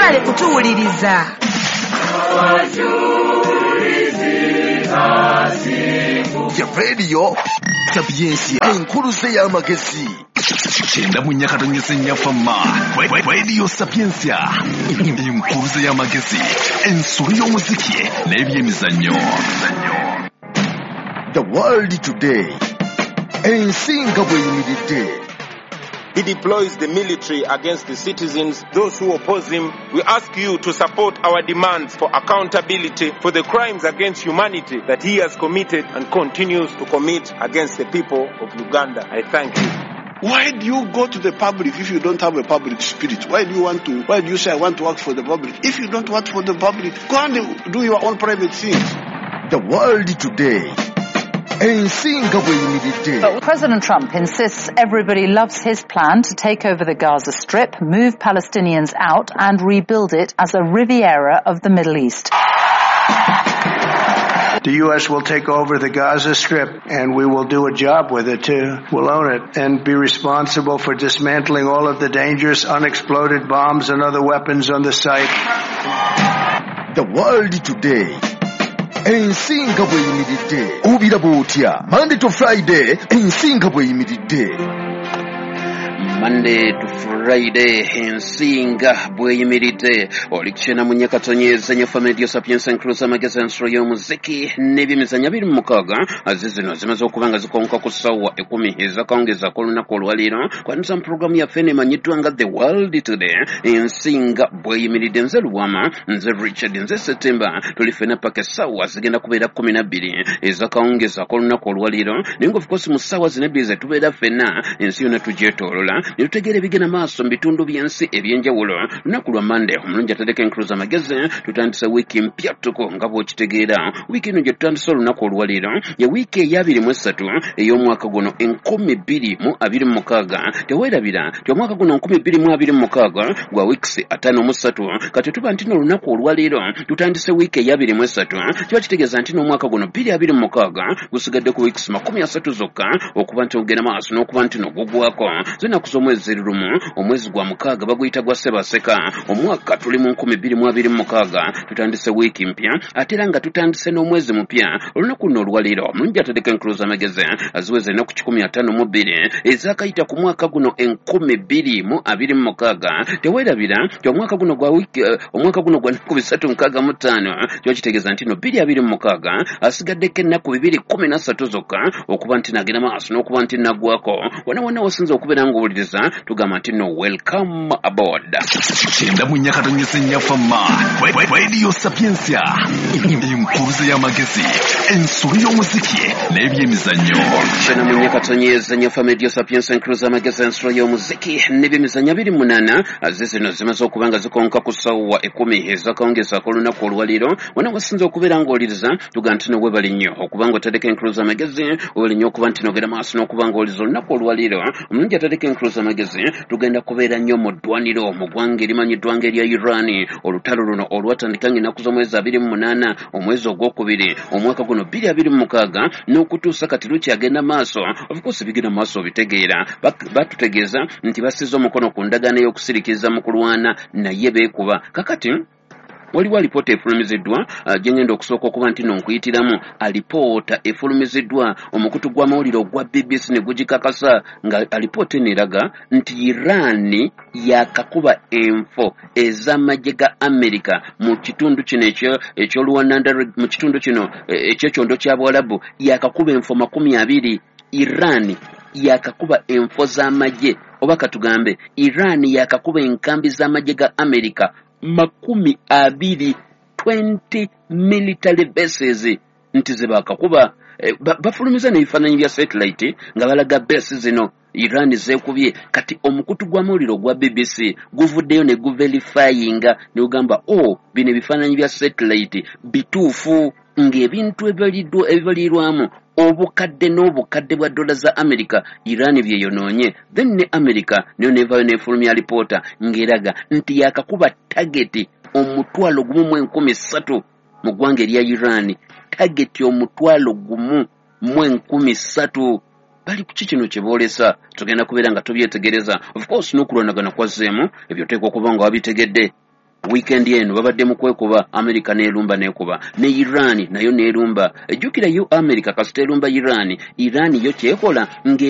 Mwebale kutuwuliriza. Ya Radio Sapientia, enkuluze y'amagezi. 94.4 Fama Radio Sapientia, enkuluze y'amagezi, ensolo y'omuziki n'ebyemizannyo. The World Today, ensi nga bw'eyimiridde. He deploys the military against the citizens, those who oppose him. We ask you to support our demands for accountability for the crimes against humanity that he has committed and continues to commit against the people of Uganda. I thank you. Why do you go to the public if you don't have a public spirit? Why do you want to, why do you say I want to work for the public? If you don't work for the public, go and do your own private things. The World Today. Ensi nga bw'eyimiridde. But President Trump insists everybody loves his plan to take over the Gaza Strip, move Palestinians out and rebuild it as a Riviera of the Middle East. The U.S. will take over the Gaza Strip, and we will do a job with it, too. We'll own it and be responsible for dismantling all of the dangerous unexploded bombs and other weapons on the site. The World Today. Ensi nga bw'eyimiridde. Obiraba otya? Monday to Friday, ensi nga bw'eyimiridde. Monday to Friday, ensi nga bw'eyimiridde. Oli 94.4 Fama Radio Sapientia, enkuluze amagezi, ensolo y'omuziki n'ebyemizannyo 26. Azi zino zimaze okuba nga zikonka ku ssaawa 10 ez'akawungeezi ak'olunaku olwaleero. Kwaniriza mu pulogulaamu yaffe eno emanyiddwa nga The World Today, ensi nga bw'eyimiridde. Nze Lubwama, nze Richard, nze September. Tuli ffenna paka essaawa zigenda kubeera 12 ez'akawungeezi ak'olunaku olwaleero. Naye nga of course mu ssaawa zino ebbiri ze tubeera ffenna, ensi yonna tugyetoolola ne tutegeera ebigenda maaso mu bitundu by'ensi ebyenjawulo. Lunaku lwa Monday, omulungi atadeko enkuluze amagezi, tutandise wiiki mpya ttuku nga bw'okitegeera. Wiiki eno gye tutandise olunaku olwaleero ye wiiki eya 23 ey'omwaka guno 2026. Teweerabira nti omwaka guno 2026 gwa wiikisi 53. Kati tuba nti n'olunaku olwaleero tutandise wiiki eya 23, kiba kitegeeza nti n'omwaka guno 2026 gusigadde ku wiikisi 30 zokka okuba nti ogenda maaso n'okuba nti nogugwako. Zinaku z'omwezi ziri 1, omwezi gwa 6 baguyita gwa Ssebaseka. Omwaka tuli mu 2026, tutandise wiiki mpya ate era nga tutandise n'omwezi mupya. Olunaku luno olwaleero omulungi atadeko enkuluze amagezi aziweza ennaku 152 ezakayita ku mwaka guno 2026. Teweerabira nti omwaka guno gwa wiiki, omwaka guno gwa nnaku 365, kiba kitegeeza nti no 2026 asigaddeko ennaku 213 zokka okuba nti nagenda maaso n'okuba nti naggwako. Wonna wonna wasinza okubeera ng'owuliriza, tugamba nti no, welcome aboard. 94.4 Fama Radio Sapientia, enkuluze y'amagezi, ensolo y'omuziki n'ebyemizannyo. 94.4 Fama Radio Sapientia, enkuluze amagezi, ensolo y'omuziki n'ebyemizannyo 28. Azi zino zimaze okuba nga zikonka ku ssaawa 10 ez'akawungeezi ak'olunaku olwaleero. Wonna wasinza okubeera ng'owuliriza, tugamba nti no, weebale nnyo okuba nga otadeko enkuluze amagezi, weebale nnyo okuba nti nogenda maaso n'okuba ng'owuliriza olunaku olwaleero. Omulungi atadeko enkuluze amagezi, tugenda kubeera nnyo mu ddwaniro mu ggwanga erimanyiddwa nga erya Iran. Olutalo luno olwatandika ng'ennaku z'omwezi 28 omwezi ogwokubiri omwaka guno 2026 n'okutuusa kati lukyagenda maaso. Of course bigenda maaso obitegeera. Batutegeeza nti basize omukono ku ndagaano ey'okusiriikiriza mu kulwana, naye beekuba. Kakati waliwo alipoota efulumiziddwa gye ngenda okusooka okuba nti no nkuyitiramu. Alipoota efulumiziddwa omukutu gw'amawulire ogwa BBC ne gugikakasa, nga alipoota eno eraga nti Iran yakakuba enfo ez'amagye ga America mu kitundu kino eky'oluwananda, mu kitundu kino eky'ekyondo kya Buwalabu. Yakakuba enfo 20. Iran yakakuba enfo z'amagye, oba katugambe Iran yakakuba enkambi z'amagye ga America 20, 20 military bases nti ze bakakuba. Bafulumiza n'ebifaananyi bya satellite nga balaga base zino Iran zeekubye. Kati omukutu gw'amawulire ogwa BBC guvuddeyo ne guverifyinga ne gugamba, o bino ebifaananyi bya satellite bituufu, ng'ebintu ebibalirwamu obukadde n'obukadde bwa dola za America Iran byeyonoonye. Then ne America nayo nevayo nefulumya alipoota ng'eraga nti yakakuba target 1,300 mu ggwanga erya Iran. Target 1,300. Bali kuki kino kye boolesa? Tugenda kubeera nga tubyetegereza. Of course n'okulwanagana kwazzeemu, ebyo oteekwa okuba nga wabitegedde. Weekend eno babadde mu kwekuba, America n'erumba n'ekuba ne Iran nayo n'erumba. Ejjukira yo America kasita erumba Iran, Iran yo kyekola ng'erumba.